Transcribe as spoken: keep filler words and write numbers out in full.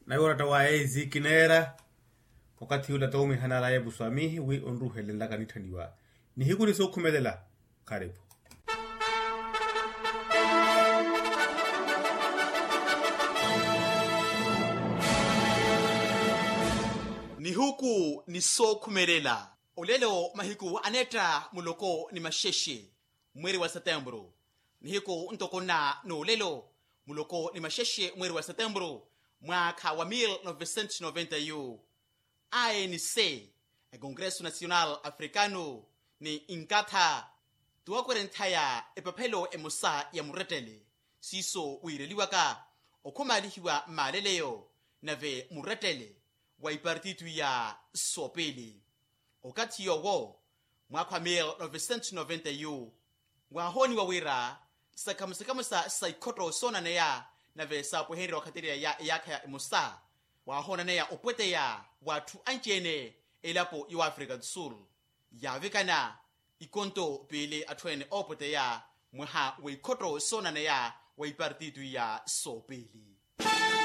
Nawe oratta wa ezi kineera. Wakathi ula toomihanalaya epusu ami wi onruhelenlaka nitthaniwa nihiku ni sookhumelela. Karipu. Nihuku ni sookhumelela. Olelo mahiku aneetta muloko ni maxexe, mweeri wa setempuru. Nihiku ntoko nna n'olelo, muloko ni maxexe mweeri wa setempuru, mwaakha wa mil novecentos noventa yu, anc, ekongreso nacional africano ni nkatha, tuwakwerenthaya epaphelo emosa ya murettele. Siiso wiireliwaka okhumaalihiwa mmaaleleyo, nave murettele wa ipartito iya soopili. Okathi yoowo, mwaakha wa mil novecentos noventa yu, waahooniwa wira sakhamusa-khamusa sa ikhotto soonaneya nave saapwehenrya wakhaterya ya eyaakha ya emosa, waahoonaneya opweteya w'atthu anci-ene elapo ya afrika do sul, yaavikana ikonto piili atthu ene oopweteya mwaha w'ikhotto soonaneya wa ipartito iya soopili.